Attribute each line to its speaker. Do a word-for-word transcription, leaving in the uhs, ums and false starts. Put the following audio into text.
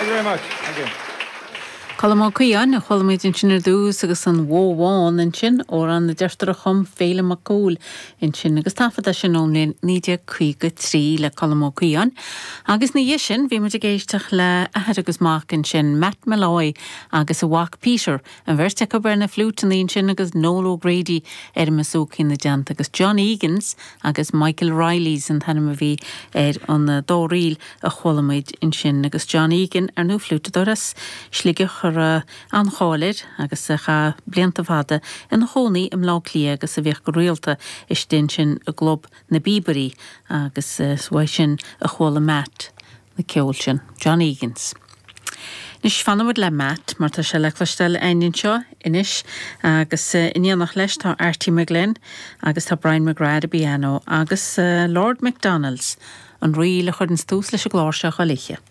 Speaker 1: Thank you very much. Thank you.
Speaker 2: Colm Ó Caodháin a chuala muid ansin ar dtús agus an Bhó Bhán ansin amhrán na deirfiúr a chum Féilim Mac Cumhaill ansin agus taifead é sin ón mbliain naoi déag caoga trí le Colm Ó Caodháin. Agus ina dhiaidh sin bhí muid ag éisteacht le athair agus mac ansin Matt Molloy agus a mhac Peter, an bheirt acu ar na fliúiteanna ansin agus Noel O'Grady ar an mbasúcaí ina dteannta agus John Egans agus Michael Riley's an t-ainm a bhí ar an dá ríl a chuala muid ansin agus John Egan ar ndóigh fliúiteadóir as Sligeach a raibh an-cháil air agus a chaith blianta fada ina chónaí i mBleá Cliath agus a bhíodh go rialta istigh ansin i gclub na bPíobairí agus is uaidh sin a chuala Matt na ceol sin, John Egans. Anois fanfaimid le Matt mar tá sé le cloisteáil againn anseo anois agus in éineacht leis tá Arty McGlynn agus tá Brian McGrath ar an bpianó agus Lord McDonald's an ríl a chuireann tús leis an gclár seo chuile oíche.